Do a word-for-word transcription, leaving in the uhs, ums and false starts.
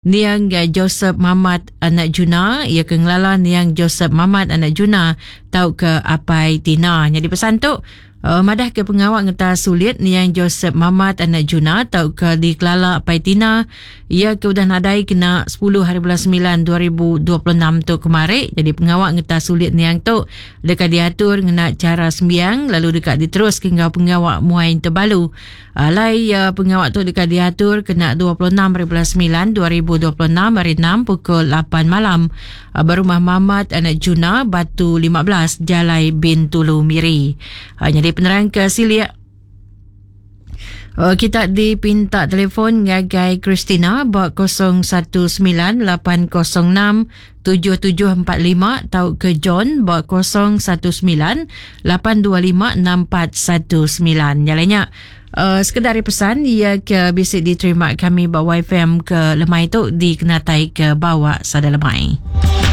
Niang Joseph Mamat anak Juna, iya ke ngelala Niang Joseph Mamat anak Juna tauka Apai Tina. Nyadi pesan tu uh, madah ke pengawa ngeta sulit Niang Joseph Mamat anak Juna tauka dikelala Apai Tina, iya ke udah nadai kena sepuluh hari bulan sembilan dua ribu dua puluh enam tu kemari. Jadi pengawa ngeta sulit Niang tu deka diatur ngena cara sembiang lalu deka diterus ke enggau pengawa muai tebalu. Alai uh, pengawa tu deka diatur kena dua puluh enam hari bulan sembilan dua ribu dua puluh enam hari enam pukul lapan malam uh, berumah Mamat anak Juna Batu lima belas Jalai Bintulu Miri. Uh, jadi penerang ke silik Uh, kita dipinta telefon ngagai Christina ba kosong satu sembilan lapan kosong enam tujuh tujuh empat lima atau ke John ba kosong satu sembilan lapan dua lima enam empat satu sembilan. Nyalanya uh, sekedar pesan ia ke bisi diterima kami ba Y F M ke lemai tu dikenatai ke bawa sada lemai.